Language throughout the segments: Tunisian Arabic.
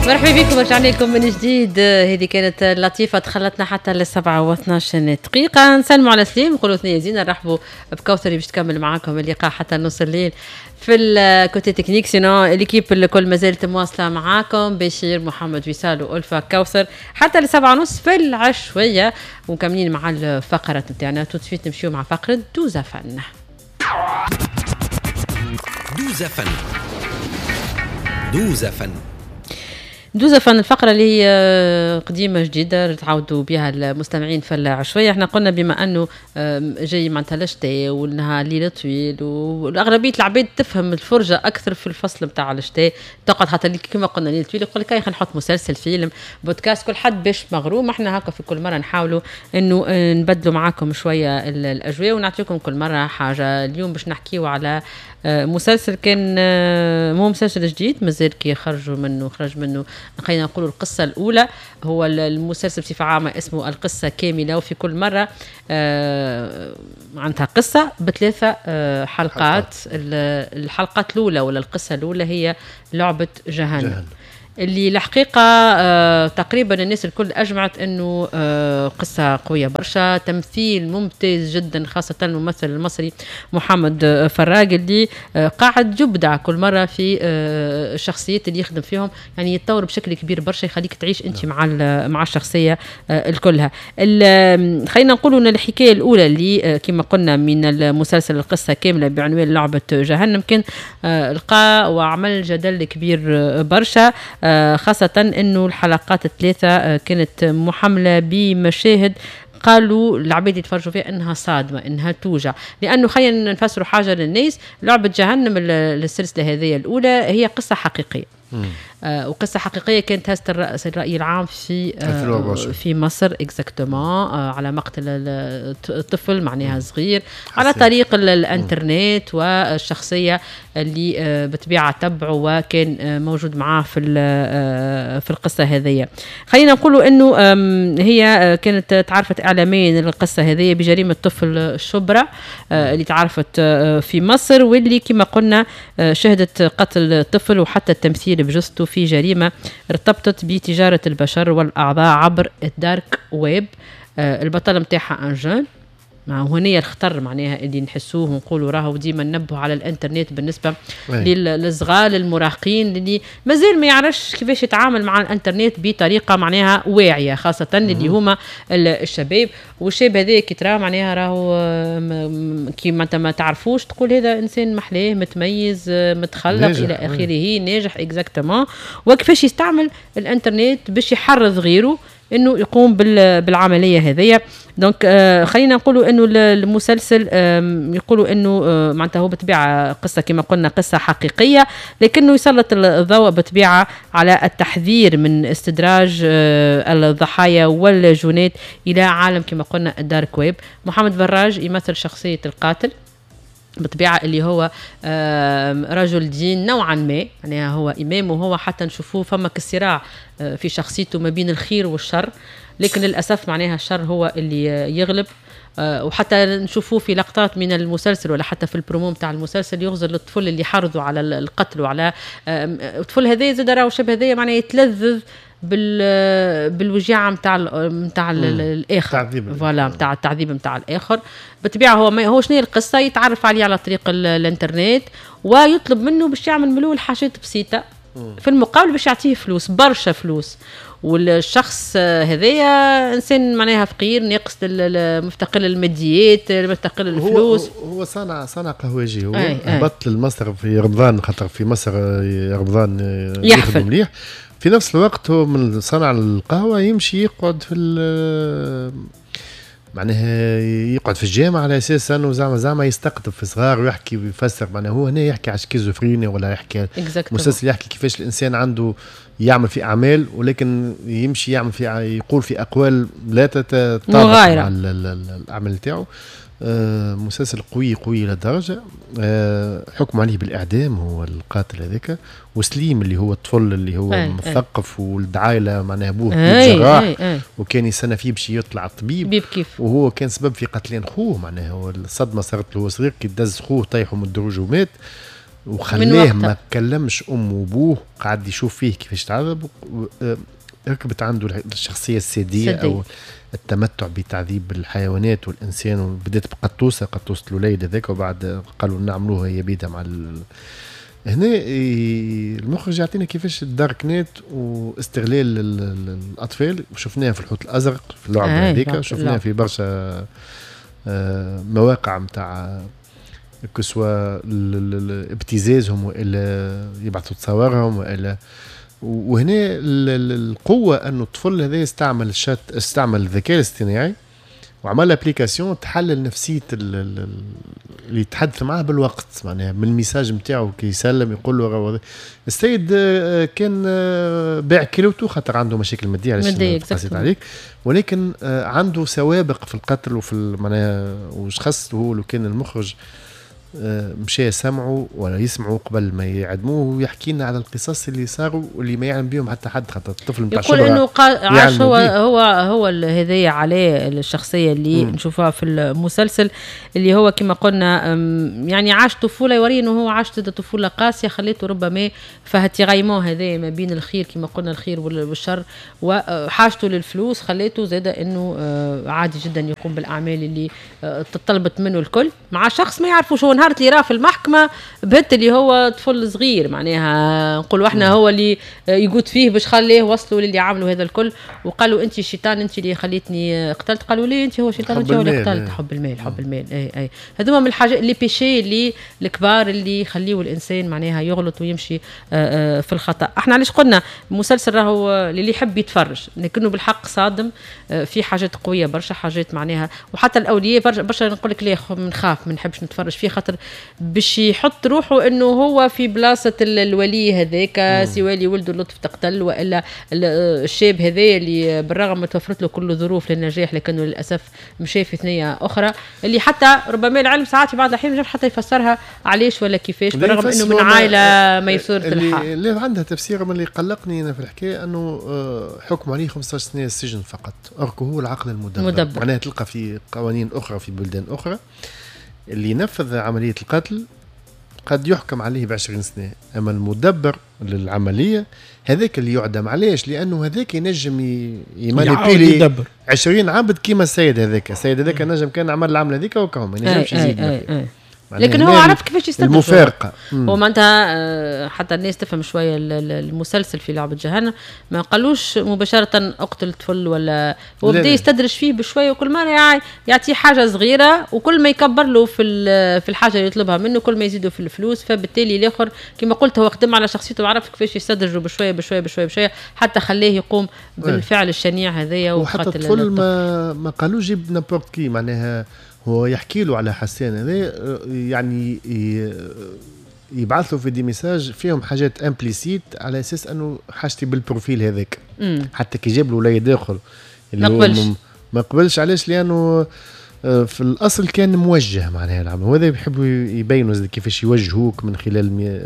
مرحبا بكم، رجعنا لكم من جديد. هذه كانت لطيفة دخلتنا حتى ل7:12. نسلموا على سليم، نقولوا ثنية زينة، نرحبوا بكوثر باش تكمل معاكم اللقاء حتى نص الليل في ال côté technique. sinon l'équipe الكل مازالت مواصلة معاكم، بشير، محمد، وصال وألفة، كوثر حتى ل7:30 في العشوية، ومكملين مع الفقرة نتاعنا. tout de suite نمشيو مع فقرة دوزا فن. دوزا فن، دوزا فن، دوزا فن، الفقرة اللي هي قديمة جديدة تعودوا بها المستمعين في العشوية. احنا قلنا بما انه جاي معناتها الشتاء والنهار ليل طويل، والاغلبية العباد تفهم الفرجة اكثر في الفصل نتاع الشتاء، تقعد حتى كما قلنا ليل طويل، يقول لك خلينا نحط مسلسل، فيلم، بودكاست، كل حد باش مغروم. احنا هكا في كل مرة نحاولوا انه نبدلوا معاكم شوية الاجواء ونعطيكم كل مرة حاجة. اليوم باش نحكيو على مسلسل كان مو مسلسل جديد، مازال كي خرجوا منه، خرج منه خلينا نقولوا القصة الأولى. هو المسلسل بصفة عامة اسمه القصة كاملة، وفي كل مرة عندها قصة بثلاثة حلقات. الحلقات الأولى ولا القصة الأولى هي لعبة جهنم، جهنم. اللي الحقيقة تقريبا الناس الكل أجمعت أنه قصة قوية برشا، تمثيل ممتاز جدا، خاصة الممثل المصري محمد فراج اللي قاعد يبدع كل مرة في الشخصيات اللي يخدم فيهم، يعني يتطور بشكل كبير برشا، يخليك تعيش أنت مع الشخصية الكلها. خلينا نقولوا أن الحكاية الأولى اللي كما قلنا من المسلسل القصة كاملة بعنوان لعبة جهنم كان لقى وعمل جدل كبير برشا، خاصة أنه الحلقات الثلاثة كانت محملة بمشاهد قالوا العباد يتفرجوا فيها انها صادمه، انها توجع، لانه خلينا نفسروا حاجة للناس، لعبه جهنم السلسلة هذه الاولى هي قصة حقيقية. وقصة حقيقية كانت هزت الراي العام في مصر exactement على مقتل الطفل معناها صغير على طريق الانترنت، والشخصية اللي بطبيعة تبعه وكان موجود معاه في القصة هذه. خلينا نقولوا انه هي كانت تعرفت اعلاميا القصة هذه بجريمة طفل شبرا اللي تعرفت في مصر، واللي كما قلنا شهدت قتل طفل وحتى التمثيل بجثته في جريمة ارتبطت بتجارة البشر والأعضاء عبر ال dark web. البطل نتاعها un jeune، مع هنا الخطر معناها اللي نحسوه ونقولوا راهو ديما ننبهوا على الانترنت بالنسبة للصغار، للمراهقين اللي مازال ما يعرفش كيفاش يتعامل مع الانترنت بطريقة معناها واعية، خاصة اللي هما الشباب. والشاب هذا كي تراه معناها راهو كي ما انت ما تعرفوش تقول هذا انسان محلاه، متميز، متخلق، الى اخره، ناجح exactement، وكيفاش يستعمل الانترنت باش يحرض غيره انه يقوم بالعملية هذيا. donc خلينا نقولوا انه المسلسل يقولوا انه معناتها هو بطبيعة قصة كما قلنا قصة حقيقيه، لكنه يسلط الضوء بطبيعة على التحذير من استدراج الضحايا والجنات الى عالم كما قلنا ال dark web. محمد فراج يمثل شخصية القاتل بطبيعة اللي هو رجل دين نوعا ما، يعني هو إمام، وهو حتى نشوفوه فما كصراع في شخصيته ما بين الخير والشر، لكن للأسف معناها الشر هو اللي يغلب. وحتى نشوفوه في لقطات من المسلسل ولا حتى في البرومو نتاع المسلسل يغزر للطفل اللي حرضوا على القتل وعلى الطفل هذا زاد راهو شاب هذايا معناها يتلذذ بالوجيعه نتاع الاخر، voilà نتاع التعذيب نتاع الاخر. بالطبيعة هو ما هو شنو القصه، يتعرف عليه على طريق الانترنت ويطلب منه باش يعمل منه الحاجات بسيطة، في المقابل باش يعطيه فلوس، برشا فلوس. والشخص هذايا انسان معناها فقير، ناقص، مفتقر للماديات، مفتقر للفلوس. هو صانع قهوجي، هو هبط لمصر في رمضان، خاطر في مصر رمضان يحفل مليح. في نفس الوقت هو من صنع القهوة يمشي يقعد في معناها يقعد في الجامعة على اساس انه زعما يستقطب في صغار ويحكي ويفسر. معناها هو هنا يحكي على schizophrénie ولا يحكي مسلسل يحكي كيفاش الانسان عنده يعمل في اعمال، ولكن يمشي يعمل في يقول في اقوال لا تتطابق مع الاعمال تاعو. مسلسل قوي قوي للدرجة. حكم عليه بالاعدام هو القاتل هذاك، وسليم اللي هو الطفل اللي هو مثقف ولد عائلة معناها ابوه جراح وكان يستنى فيه باش يطلع طبيب كيف، وهو كان سبب في قتلين خوه. معناها هو الصدمة صارت له صغير كي دز خوه طيحوا من الدروج ومات. وخلاه ما كلمش امه وابوه، قعد يشوف فيه كيفاش تعذب، ركبت عنده الشخصية الساديه او التمتع بتعذيب الحيوانات والانسان، وبدات بقطوسه، قطوسه الوليد هذاك، وبعد قالوا نعملوها هي بيدها مع هنا المخرج يعطينا كيفاش ال dark net واستغلال الاطفال، وشفناها في الحوت الازرق في اللعبة هذيك، شفناها في برشا مواقع نتاع que ce soit ابتزازهم والا يبعثوا تصاورهم والا. وهنا القوة انه الطفل هذا استعمل الشات، استعمل الذكاء الاصطناعي وعمل application تحلل نفسية اللي يتحدث معاه بالوقت، معناها من ال message نتاعو كي يسلم يقول له السيد كان باع كيلوته خاطر عنده مشاكل مادية، علاش قصيت عليك، ولكن عنده سوابق في القتل وفي معناها وش هو لو كان المخرج مشى سمعوا ولا يسمعوا قبل ما يعدموه ويحكي لنا على القصص اللي صاروا واللي ما يعلم بهم حتى حد، خاطر الطفل نتاع يقول انه عاش هو هو هو هذايا عليه الشخصية اللي نشوفها في المسلسل، اللي هو كما قلنا يعني عاش طفولة، يوري انه هو عاش طفولة قاسية خليته ربما فه tiraillement هذا ما بين الخير كما قلنا الخير والشر، وحاجته للفلوس خليته زاد انه عادي جدا يقوم بالاعمال اللي تطلبت منه الكل مع شخص ما يعرفوش. هو نهار اللي راه في المحكمة بهت اللي هو طفل صغير، معناها نقولوا احنا هو اللي يقود فيه باش خليه وصلوا للي عملوا هذا الكل، وقالوا انت شيطان، انت اللي خليتني قتلت، قالوا لي انت هو شيطان، انت هو اللي قتلت. حب المال، حب المال، اي اي هذوما من الحاجات les péchés اللي الكبار اللي يخليوا الانسان معناها يغلط ويمشي في الخطا. احنا علاش قلنا المسلسل راهو اللي يحب يتفرج، لكنه بالحق صادم، في حاجات قوية برشا، حاجات معناها، وحتى الاولياء برشا نقول لك ليه نخاف ما نحبش نتفرج فيه، خاطر باش يحط روحه انه هو في بلاصة الولي هذاك، سواء اللي ولده اللطف تقتل والا الشاب هذا اللي بالرغم ما توفرت له كل الظروف للنجاح لكنه للاسف مشى في ثنيه اخرى، اللي حتى ربما العلم ساعات في بعض الاحيان ما حتى يفسرها علاش ولا كيفاش، بالرغم انه من عائلة ميسوره الحال. اللي عندها تفسير. من اللي قلقني انا في الحكاية انه حكم عليه 15 سنة السجن فقط، اركو هو العقل المدبر، معناها تلقى في قوانين اخرى في بلدان اخرى اللي ينفذ عملية القتل قد يحكم عليه ب 20 سنة، أما المدبر للعملية هذاك اللي يعدم. علاش؟ لأنه هذاك ينجم ي manipuler 20 عبد كيما السيد هذاك، السيد هذاك نجم كان عمل العملة هذيك وكهم ما ينجمش يزيد. لكن هو عرف كيفاش يستدرج المفارقة. هو معناتها حتى الناس تفهم شوية المسلسل في لعبه جهنم، ما قالوش مباشرة اقتل طفل ولا هو بدا يستدرج فيه بشوية، وكل مرة يعطيه حاجة صغيرة، وكل ما يكبر له في الحاجة اللي يطلبها منه كل ما يزيده في الفلوس، فبالتالي الاخر كما قلت هو خدم على شخصيته وعرف كيفاش يستدرجه بشوية بشوية بشوية بشوية حتى خليه يقوم بالفعل الشنيع هذايا. وحتى الطفل ما قالوش جيب n'importe qui، معناها هو يحكي له على حسان هذا، يعني يبعث له في des messages فيهم حاجات implicites على اساس انه حاجتي بال profil هذاك. حتى كي جاب له وليد اخر اللي هو ما قبلش. علاش؟ لانه في الاصل كان موجه معناها العمل، وهذا يحبوا يبينوا كيفاش يوجهوك من خلال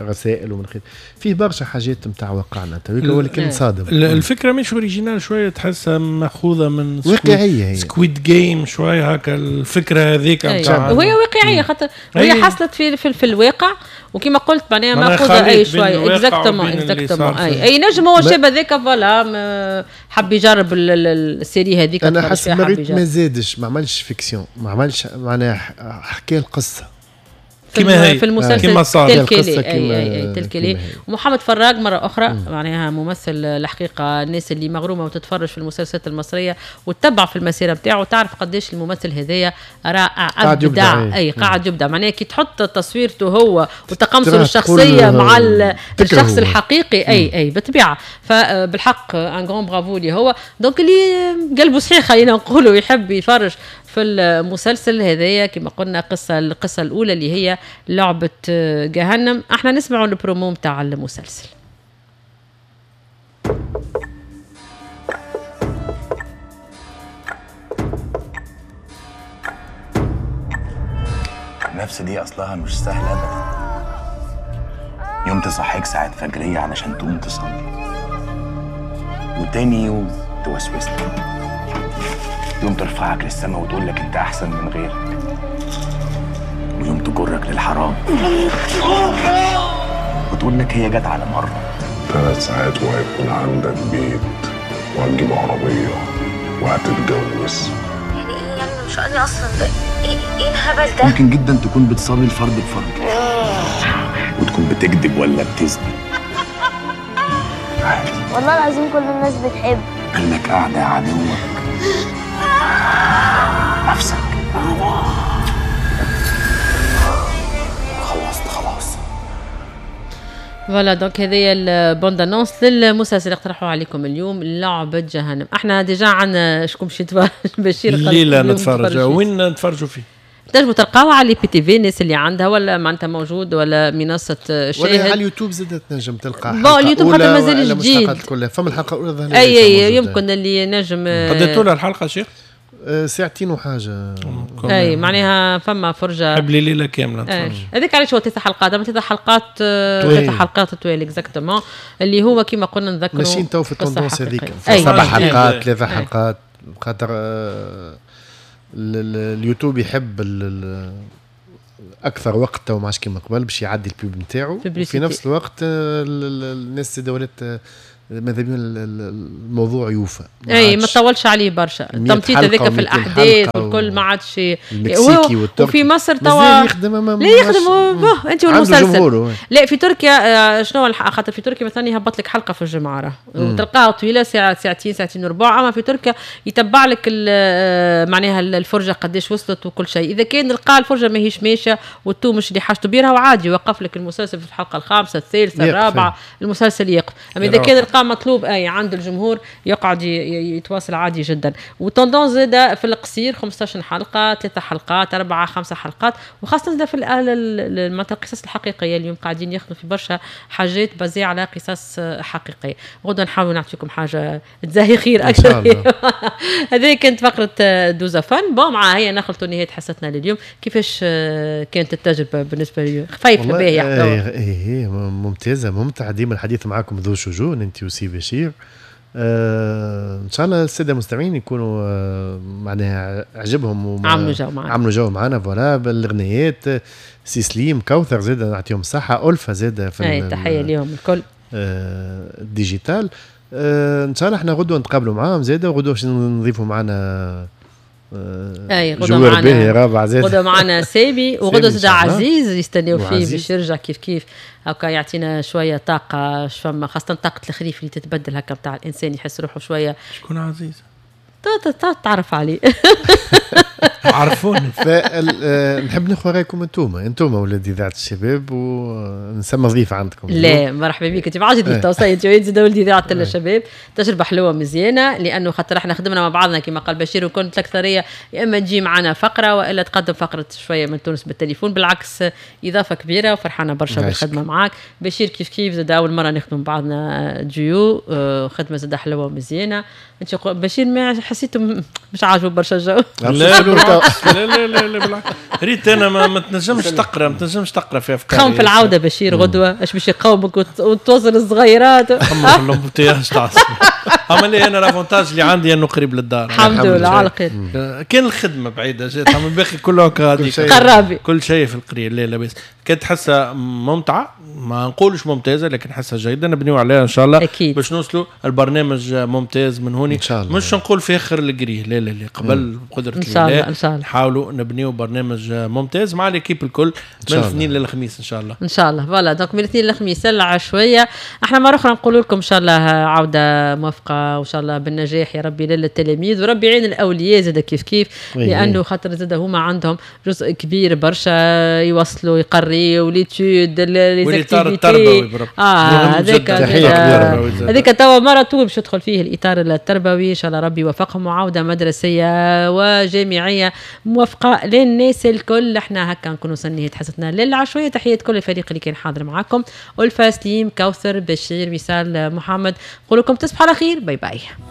رسائل ومن خلال فيه برشا حاجات نتاع واقعنا ولكن صادم. الفكرة مش originale شوية، تحسها ماخوذة من واقعية، Squid Game شوية هكا الفكرة هذيك نتاع، وهي واقعية خاطر وهي حصلت في الواقع، وكما قلت معناها ماخوذة اي شوية exactement exactement. اي نجم هو الشاب هذاك voilà حب يجرب ال série هذيك. انا حسب ما زادش ما عملش fiction، ما عملش معناها حكى القصة كما هي في المسلسل كما صار telle quelle. اي telle quelle. ومحمد فراج مرة اخرى معناها ممثل الحقيقة، الناس اللي مغرومه وتتفرج في المسلسلات المصرية وتتبع في المسيرة نتاعو تعرف قداش الممثل هذايا رائع، ابدع، اي قاعد يبدع. معناها كي تحط تصويرته هو وتقمصه الشخصية مع الشخص الحقيقي، اي اي بالطبيعة. فبالحق un grand bravo لي هو، donc اللي قلبه صحيح خلينا نقولوا يحب يفرج في المسلسل هذايا. كما قلنا القصة الأولى اللي هي لعبة جهنم. احنا نسمعوا البرومو متاع المسلسل. النفس دي أصلها مش سهلة أبدا. يوم تصحيك ساعة فجرية علشان تقوم تصلي، وتاني يوم توسوس لك، يوم ترفعك للسما وتقول لك انت احسن من غيرك، ويوم تجرك للحرام وتقول لك هي جت على مرة. 3 ساعات وهيكون عندك بيت وهتجيب عربية وهتتجوز. يعني ايه يعني مش انا اصلا ده ايه الهبل ده؟ ممكن جدا تكون بتصلي الفرد بفرد وتكون بتكذب ولا بتزني عادي. والله العظيم كل الناس بتحب. قال لك اعدى عدوك نفسك. خلصت خلاص. voilà donc هذه ال bande-annonce للمسلسل اللي اقترحوه عليكم اليوم، لعبة جهنم. احنا déjà عندنا شكون باش يتفرج؟ بشير الليلة نتفرج. وين نتفرجوا فيه؟ تنجموا تلقاوها على IPTV، الناس اللي عندها ولا معناتها موجود ولا منصة شاهد ولا على اليوتيوب زاد تنجم تلقى. bon اليوتيوب خاطر مازال جديد. فما الحلقة الاولى اي يمكن اللي نجم. قد طول الحلقة شيخ؟ ساعتين وحاجه. اي معناها فما فرجه حب لي ليلة كاملة. هذاك علاش هو 3 حلقات، اما 3 حلقات 3 حلقات طوال exactement اللي هو كيما قلنا نذكروا ماشيين تو في ال tendance هذيك 7 حلقات 3 حلقات، خاطر اليوتيوب يحب اكثر وقت تو ما عادش كيما قبل باش يعدي ال pub نتاعو، وفي نفس الوقت الناس ولات ماذا بينا الموضوع يوفى. اي ما تطولش عليه برشا، التمطيط هذاك في الاحداث والكل ما عادش. المكسيكي والتركي وفي مصر توا يخدم لا يخدم انت والمسلسل. لا في تركيا شنو خاطر في تركيا مثلا يهبط لك حلقة في الجمعة راه وتلقاها طويلة ساعة ساعتين ساعتين وربع، اما في تركيا يتبع لك معناها الفرجة قداش وصلت وكل شيء. اذا كان لقى الفرجة ماهيش ماشية والتو مش اللي حاجته بيرها وعادي يوقف لك المسلسل في الحلقة الخامسة الثالثة الرابعة المسلسل يقف. اما اذا كان لقى مطلوب اي عند الجمهور يقعد يتواصل عادي جدا. و tendance زاده في القصير 15 حلقة 3 حلقات 4 5 حلقات، وخاصة زاده في القصص الحقيقية. اليوم قاعدين ياخذوا في برشا حاجات basées على قصص حقيقية. غدا نحاول نعطيكم حاجة تزهي خير اكثر. هذه كانت فقره دوزا فن. bon مع هي نخلطوا نهاية حصتنا لليوم. كيفاش كانت التجربة بالنسبة لي؟ خفيفة باهيه. ايه ممتازة ممتعة ديما الحديث معاكم ذو شجون انت وسي بشير. ان شاء الله السادة المستمعين يكونوا معناها عجبهم عملوا جو معنا، عملوا جو معنا voilà بالاغنيات. سي سليم كوثر زاد نعطيهم الصحة، الفا زاد في تحية ليهم الكل ال digital. ان شاء الله احنا غدوه نتقابلوا معاهم زاد، وغدوه باش نضيفوا معنا اي غدوه معنا غدوه معنا سامي، وغدوه زاد عزيز يستناو فيه باش يرجع كيف كيف هكا يعطينا شوية طاقة فما، خاصة طاقة الخريف اللي تتبدل هكا بتاع الانسان يحس روحه شوية. شكون عزيز؟ تعرف عليه. عرفوني. نحب ناخذ رايكم انتوما ولاد اذاعة الشباب، ونسمى ضيف عندكم. لا مرحبا بك، انت ما عادش ضيف توصية، انت زاد ولد اذاعة الشباب. تجربه حلوة مزيانه، لانه خاطر احنا خدمنا مع بعضنا كما قال بشير، وكنت الاكثرية يا اما تجي معنا فقره والا تقدم فقره شوية من تونس بالتليفون. بالعكس اضافه كبيرة وفرحانه برشا بالخدمة معاك بشير. كيف كيف زاد اول مرة نخدم بعضنا ديو، خدمة زاد حلوة ومزيانه. انت بشير ما حسيته مش عاجبه برشا الجو. لا لا لا لا لا بالعكس، ريت انا ما تنجمش تقرا، ما تنجمش تقرا في افكاري. خم في العودة بشير غدوه اش باش يقومك وتوصل الصغيرات. خم في ال embouteillage تاع اما لي انا l'avantage اللي عندي انه قريب للدار. الحمد لله على الخير. كان الخدمة بعيدة جات، اما الباقي كله قرابي، كل شيء في القرية. لا لاباس، كانت حصة ممتعة، ما نقولش ممتازة لكن حصة جيدة نبنيو عليها ان شاء الله أكيد. باش نوصلوا البرنامج ممتاز من هوني، مش نقول في اخر القرية، لا لا لا قبل بقدره الله ان شاء الله نحاولوا نبنيو برنامج ممتاز مع l'équipe الكل من الاثنين للخميس ان شاء الله. ان شاء الله voilà donc من الاثنين للخميس العشويه. احنا مرة اخرى نقول لكم ان شاء الله عوده موفقة، وان شاء الله بالنجاح يا ربي للتلاميذ، وربي يعين الاولياء زاد كيف كيف، لانه خاطر زاد هما عندهم جزء كبير برشا يوصلوا يقريوا les études les activités. هذاك توا مرة طول باش يدخل فيه الاطار التربوي. ان شاء الله ربي يوفقهم، وعوده مدرسيه وجامعيه موفقة للناس الكل. احنا هكا نكونوا وصلنا حصتنا للعشويه. تحية كل الفريق اللي كان حاضر معاكم، ألفا سليم كوثر بشير وصال محمد. نقول لكم تصبحوا على خير، bye bye.